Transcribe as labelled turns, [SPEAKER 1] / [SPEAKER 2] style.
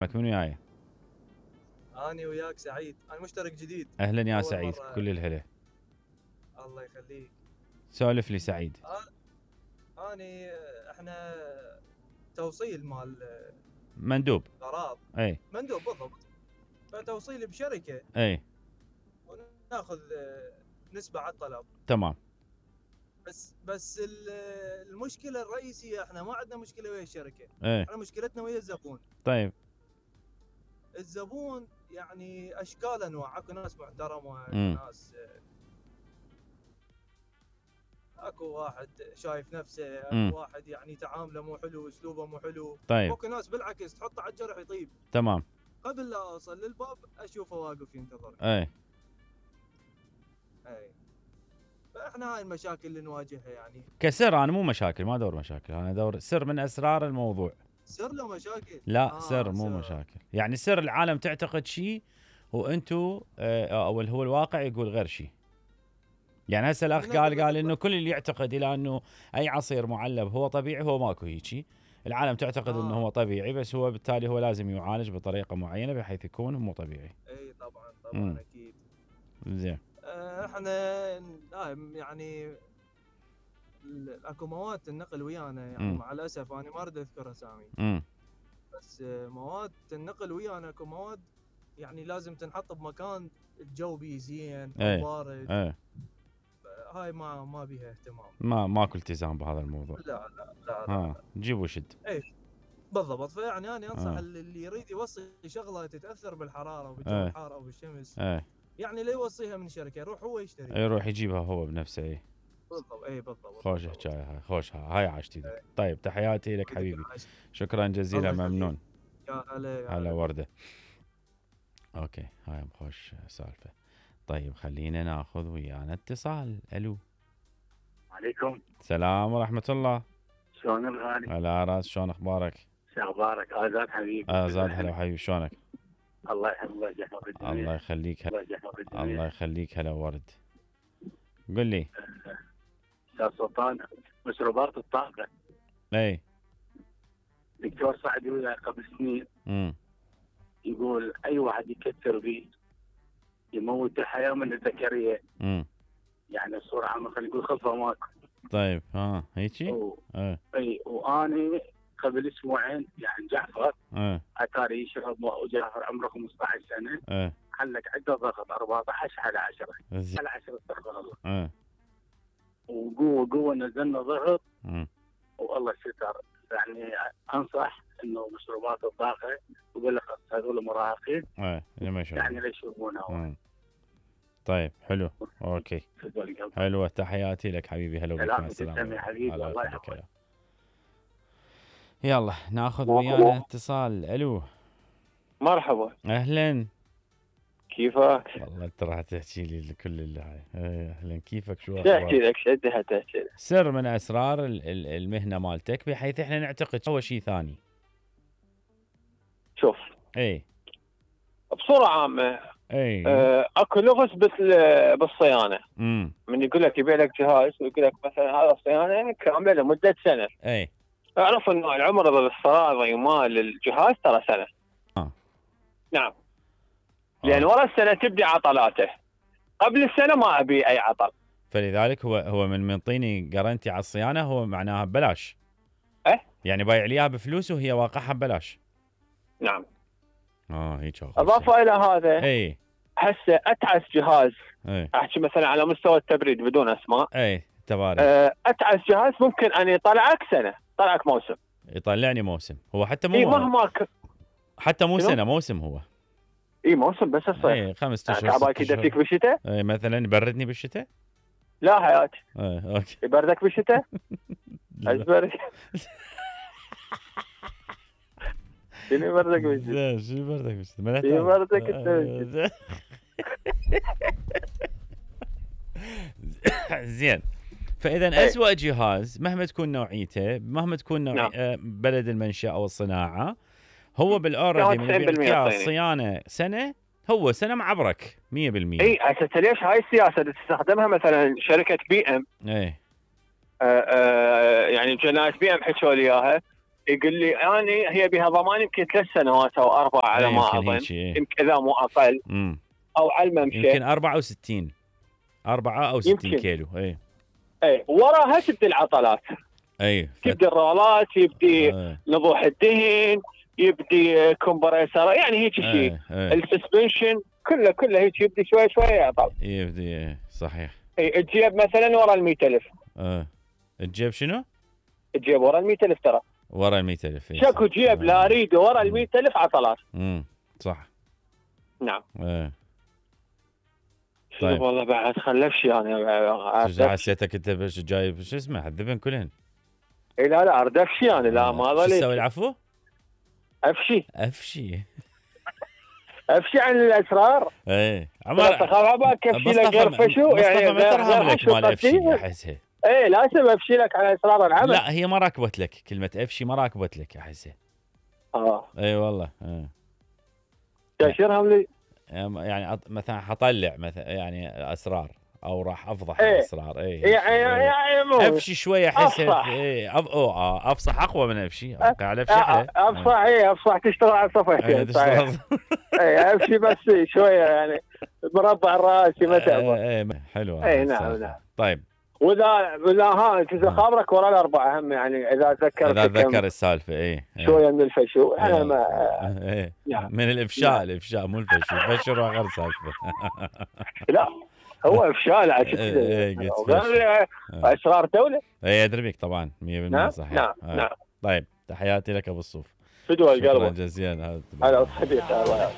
[SPEAKER 1] من وياي؟
[SPEAKER 2] اني وياك سعيد، انا مشترك جديد.
[SPEAKER 1] اهلا يا سعيد، كل الهلا.
[SPEAKER 2] الله يخليك.
[SPEAKER 1] سولف لي سعيد.
[SPEAKER 2] اني احنا توصيل مال
[SPEAKER 1] مندوب
[SPEAKER 2] غراض.
[SPEAKER 1] اي
[SPEAKER 2] مندوب بالضبط. فتوصيل بشركه
[SPEAKER 1] اي
[SPEAKER 2] وناخذ نسبه على الطلب.
[SPEAKER 1] تمام.
[SPEAKER 2] بس المشكله الرئيسيه احنا ما عندنا مشكله ويا الشركه.
[SPEAKER 1] ايه
[SPEAKER 2] احنا مشكلتنا ويا الزبون.
[SPEAKER 1] طيب.
[SPEAKER 2] الزبون يعني اشكال انواع، اكو ناس محترمه، اكو ناس اكو واحد شايف نفسه، اكو واحد يعني تعامله مو حلو، اسلوبه مو حلو.
[SPEAKER 1] طيب.
[SPEAKER 2] اكو ناس بالعكس تحطه على الجرح يطيب.
[SPEAKER 1] تمام.
[SPEAKER 2] قبل لا اوصل للباب اشوفه واقف ينتظر.
[SPEAKER 1] اي
[SPEAKER 2] فاحنا هاي المشاكل اللي نواجهها يعني.
[SPEAKER 1] كسر انا مو مشاكل، ما ادور مشاكل، انا ادور سر من اسرار الموضوع.
[SPEAKER 2] سر له مشاكل؟
[SPEAKER 1] لا سر مو مشاكل، يعني سر العالم تعتقد شيء وانتو او هو الواقع يقول غير شيء. يعني هسه الاخ قال انه كل اللي يعتقد الى انه اي عصير معلب هو طبيعي، هو ماكو هيجي. العالم تعتقد انه هو طبيعي، بس هو بالتالي هو لازم يعالج بطريقه معينه بحيث يكون مو طبيعي.
[SPEAKER 2] اي طبعا اكيد.
[SPEAKER 1] زين.
[SPEAKER 2] احنا يعني اكو مواد النقل ويانا يعني مع الاسف انا ما اريد اذكر اسامي. بس مواد النقل ويانا اكو مواد يعني لازم تنحط بمكان الجو بيه زين بارد. هاي ما بيها اهتمام.
[SPEAKER 1] ماكو التزام بهذا الموضوع.
[SPEAKER 2] لا
[SPEAKER 1] جيب وشد.
[SPEAKER 2] اي بالضبط. فيعني انا انصح اللي يريد يوصي شغله تتاثر بالحراره وبالجو الحار او بالشمس، يعني لا يوصيها من شركه، يروح هو يشتري،
[SPEAKER 1] يروح يجيبها هو بنفسه.
[SPEAKER 2] بالضبط.
[SPEAKER 1] خوش حكايه هاي، خوش هاي عاشتي لك. طيب تحياتي لك حبيبي، شكرا جزيلا، ممنون.
[SPEAKER 2] يا
[SPEAKER 1] هلا ورده. اوكي هاي خوش سالفه. طيب خلينا ناخذ ويانا اتصال. الو.
[SPEAKER 3] عليكم
[SPEAKER 1] السلام ورحمه الله.
[SPEAKER 3] شلون الغالي؟
[SPEAKER 1] على راس، شلون اخبارك؟
[SPEAKER 3] شو اخبارك؟ ازاد حبيبي.
[SPEAKER 1] ازاد هلا حبيبي، شلونك؟
[SPEAKER 3] الله يحفظك الجميع.
[SPEAKER 1] الله يخليك. الله يخليك. هلا ورد. قل لي
[SPEAKER 3] استاذ سلطان، مشروبات الطاقه.
[SPEAKER 1] اي
[SPEAKER 3] دكتور سعد وياه قبل سنين يقول اي واحد يكثر به يموت الحياه من الذكريه. يعني الصوره عامه خلينا نقول خلفه ماكو.
[SPEAKER 1] طيب هيجي.
[SPEAKER 3] اي واني قبل اسبوعين يعني جعفر اتاري يشرب، وجعفر عمره 15 سنه. حلك عنده ضغط 14 على 10 على 10 استغفر الله. وقوه نزلنا ضغط والله ستر. يعني انصح انه مشروبات الطاقه وبالاخص هذول المراهقين يعني لا يشربونها.
[SPEAKER 1] طيب حلو اوكي حلوه. تحياتي لك حبيبي. هلا بك. مع السلامه
[SPEAKER 3] يا حبيبي. الله يحفظك.
[SPEAKER 1] يلا ناخذ ويانا اتصال. الو.
[SPEAKER 4] مرحبا.
[SPEAKER 1] اهلا.
[SPEAKER 4] كيفك؟
[SPEAKER 1] والله انت راح تحكي لي كل اللي هاي. اهلا كيفك؟ شو
[SPEAKER 4] اخبارك؟ احكي لك شدها تحكي لك.
[SPEAKER 1] سر من اسرار المهنه مالتك بحيث احنا نعتقد هو شيء ثاني.
[SPEAKER 4] شوف
[SPEAKER 1] بصوره
[SPEAKER 4] عامه اكو لغز بالصيانه. من يقول لك يبيع لك جهاز ويقول لك مثلا هذا الصيانه كامله لمده سنه. اعرف انه العمر الافتراضي مال الجهاز ترى سنه. نعم. لان ورا السنه تبدي عطلاته، قبل السنه ما ابي اي عطل.
[SPEAKER 1] فلذلك هو من منطيني جارنتي على الصيانه، هو معناها ببلاش. يعني بايع لي اياها بفلوس وهي واقعها ببلاش.
[SPEAKER 4] نعم.
[SPEAKER 1] هيك.
[SPEAKER 4] اضافه الى هذا هسه اتعس جهاز. احكي مثلا على مستوى التبريد بدون اسماء.
[SPEAKER 1] تبارك.
[SPEAKER 4] اتعس جهاز ممكن ان يطلعك سنه، طلعك موسم.
[SPEAKER 1] يطلعني موسم. هو حتى مو
[SPEAKER 4] مهما
[SPEAKER 1] حتى مو سنه، موسم هو.
[SPEAKER 4] موسم بس الصيف.
[SPEAKER 1] 5 اشهر.
[SPEAKER 4] تعباك يدفيك بالشتاء؟
[SPEAKER 1] مثلا يبردني بالشتاء؟
[SPEAKER 4] لا حياتي.
[SPEAKER 1] اوكي.
[SPEAKER 4] يبردك بالشتاء؟ ازبرك. شنو يبردك بالشتاء؟
[SPEAKER 1] شنو يبردك بالشتاء؟
[SPEAKER 4] يبردك انت.
[SPEAKER 1] زين. فاذا اسوأ جهاز مهما تكون نوعيته، مهما تكون بلد المنشأ او الصناعه، هو بالاوردي من بيعطيك الصيانه سنه، هو سنه معبرك 100%.
[SPEAKER 4] هسه ليش هاي السياسه تستخدمها مثلا شركه بي ام؟ يعني جنايات بي ام حكوا لي اياها، يقول لي اني هي بها ضمان يمكن 3 سنوات او 4 على ما اظن، يمكن اذا مو اقل. او على الممشى
[SPEAKER 1] يمكن 64 او 60 كيلو.
[SPEAKER 4] اي وراها تبدي العطلات، تبدي الرولات، يبدي نضوح الدهن، يبدي كومبريسر، يعني هيك شيء. السسبنشن كله هيك يبدي شوي يعطل.
[SPEAKER 1] يبدي صحيح.
[SPEAKER 4] الجيب مثلا ورا ال 100,000.
[SPEAKER 1] الجيب شنو؟
[SPEAKER 4] الجيب ورا ال 100,000 ترى.
[SPEAKER 1] ورا ال 100,000.
[SPEAKER 4] شكو جيب لا اريده ورا ال 100,000 عطلات.
[SPEAKER 1] صح.
[SPEAKER 4] نعم.
[SPEAKER 1] طيب
[SPEAKER 4] والله بعد خلفشي انا.
[SPEAKER 1] حسيتك انت جايب شو اسمه الذبن كلهن.
[SPEAKER 4] اي لا اردفشي انا. لا ما ظليت.
[SPEAKER 1] شو تسوي العفو؟
[SPEAKER 4] افشي عن الاسرار.
[SPEAKER 1] عمر
[SPEAKER 4] تخاف عباك افشي لك غير فشو يعني
[SPEAKER 1] غير شو مال افشي احسها.
[SPEAKER 4] لازم افشي لك على اسرار العمل.
[SPEAKER 1] لا هي ما راكبت لك كلمه افشي، ما راكبت لك احسها. اي والله.
[SPEAKER 4] تاشرهم لي
[SPEAKER 1] يعني مثلا حطلع مثلا يعني اسرار او راح افضح الاسرار.
[SPEAKER 4] يعني
[SPEAKER 1] افشي شويه احس. افصح اقوى من افشي. قاعد افشح.
[SPEAKER 4] افصح تشتغل على صفحتين. افشي بس شويه يعني مربع الراس مثلا.
[SPEAKER 1] حلوه.
[SPEAKER 4] نعم.
[SPEAKER 1] طيب
[SPEAKER 4] واذا انت خابرك ورا الاربعه هم يعني اذا
[SPEAKER 1] تذكر السالفه.
[SPEAKER 4] شويه من الفشو. انا ما
[SPEAKER 1] من الافشاء مو الفشو. الفشو غير سالفه.
[SPEAKER 4] لا هو افشال اسرار دوله.
[SPEAKER 1] ادري بك طبعا 100% صحيح.
[SPEAKER 4] نعم.
[SPEAKER 1] طيب تحياتي لك ابو الصوف.
[SPEAKER 4] فدوى القلب.
[SPEAKER 1] شكرا جزيلا.
[SPEAKER 4] هلا صديقي الله